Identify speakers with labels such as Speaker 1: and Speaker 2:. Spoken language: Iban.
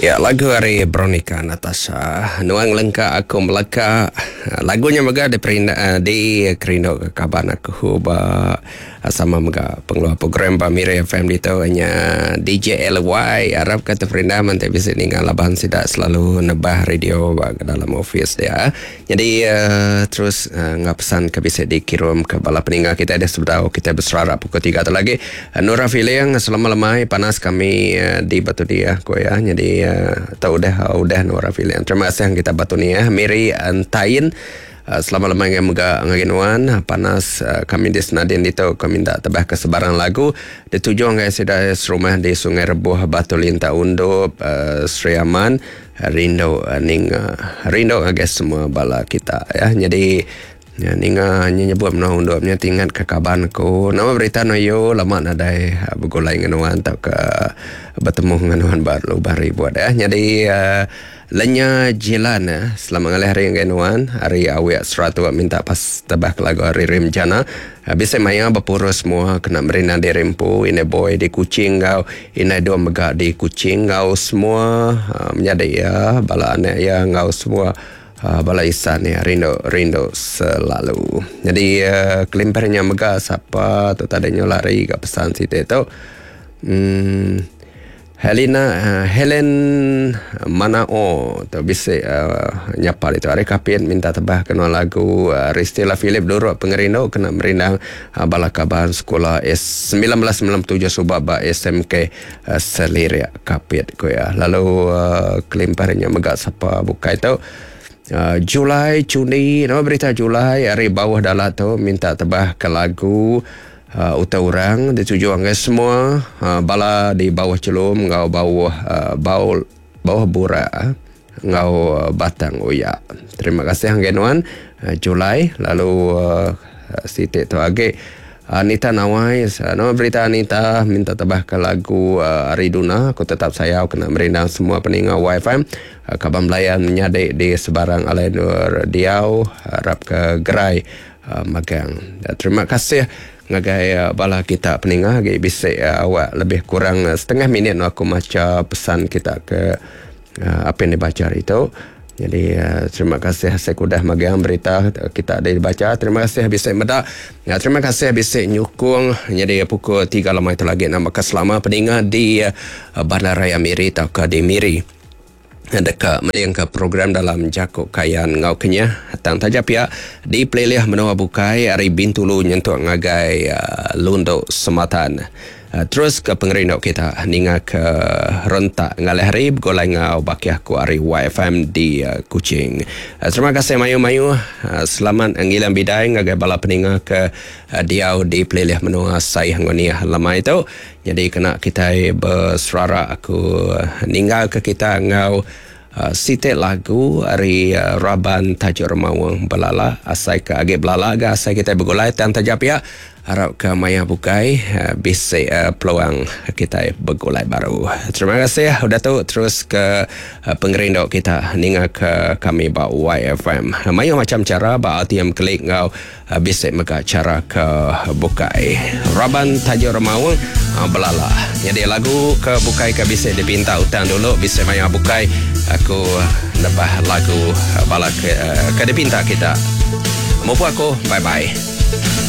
Speaker 1: Ya lagu ari Veronica Natasha Nuan ngelengka aku meleka. Lagu nya mega diperinda dikerindu ke kaban aku ba sama mega pengeluar program ba Miri FM ditu nya DJ LY arap ka teperindang enti bisi ninga laban sida selalu nebah radio ba dalam office dia. Nyadi terus enggau pesan ke bisi dikirum ke bala peninga kitai deh sebedau kitai beserara pukul tiga tu lagi. Nura Filing selama lemai panas kami di Batu Diah ku iya. Nyadi tu udah udah Nura Filing. Terima kasih kita Batu Niah Miri Entain selama lemai ngagai mega ngagai nuan panas kami di Senadin ditu ke minta tebah ke sebarang lagu dituju ngagai sida serumah di Sungai Rebuh Batu Linta Undup Sri Aman. Rindu ninga rindu ngagai semua bala kita ya. Nyadi ninga nya nyebut menua undup nya ti ingat ke kaban aku. Nama berita nuyu lama nadai begulai ngan nuan tauka betemu ngan nuan ba lubang ribut ya. Nyadi uhh lenya jilan selamat ngalih hari ngagai nuan ari awik Seratok minta pas tebah ke lagu ari Rim Jana. Bisi maya bepurus semua kena merindang diri empu indai boy di Kuching enggau Indai dua mega di Kuching enggau semua menyadi iya, bala anak iya enggau semua bala isan iya rindu rindu selalu. Nyadi kelimpah nya mega sapa tu tadi nyu lari ga pesan siti tu uhh Helena Helen Manao tu bisi nyapa ditu ari Kapit minta tebah ke nuan lagu Ristila Philip Durok Pengerindu kena merindang Bala kaban sekula 1997 suba ba SMK Selirik Kapit ku iya. Lalu kelimpah ari nya mega sapa bukai tu Julai Chundi nama berita Julai ari bauh dala tu minta tebah ke lagu utai orang dituju ngagai semua bala di bauh chelum enggau bauh bau bauh burak enggau batang uya. Terima kasih ngagai nuan Julai lalu siti tu agi Anita Nawai nama berita Anita minta tebah ke lagu ari Duna aku tetap sayau kena merindang semua peninga YFM kaban belayan menyadi di sebarang alai endur diau arap ke gerai magang. Terima kasih ngagai bala kita peninga agi bisi awak lebih kurang setengah minit aku macha pesan kita ke Apin dibacha hari tu. Jadi terima kasih asai ku udah magang berita kita dibacha. Terima kasih bisi meda. Terima kasih bisi nyukung. Nyadi pukul tiga lemai tu lagi nama ke selama peninga di Bandar Raya Miri tauka di Miri deka mendingka program dalam jaku Kayan enggau Kenyah. Tang taja pia di pelilih menua bukai ari Bintulu nyentuk ngagai Lundu Sematan. Terus ke pengerindu kita ninga ke rentak ngalih hari begulai enggau bakih aku ari YFM di Kuching. Terima kasih mayuh-mayuh. Selamat ngiling bidai ngagai bala peninga ke diau di pelilih menua Saih enggau Niah lemai tu. Nyadi kena kitai beserara aku ninggalka kita enggau siti lagu ari raban Tajuk Remaung Belala. Asai ke agi belala ga asai kitai begulai tang taja pia arap ke maya bukai bisi peluang kitai begulai baru. Terima kasih udah tu terus ke pengerindu kita ninga ke kami ba YFM. Mayuh macham chara ba RTM Klik enggau Bisi mega chara ke bukai. Raban Tajuk Remaung belala. Nyadi lagu ke bukai ke bisi dipinta utang dulu bisi maya bukai aku nebah lagu bala ke, ke dipinta kita. Mupu aku bye bye.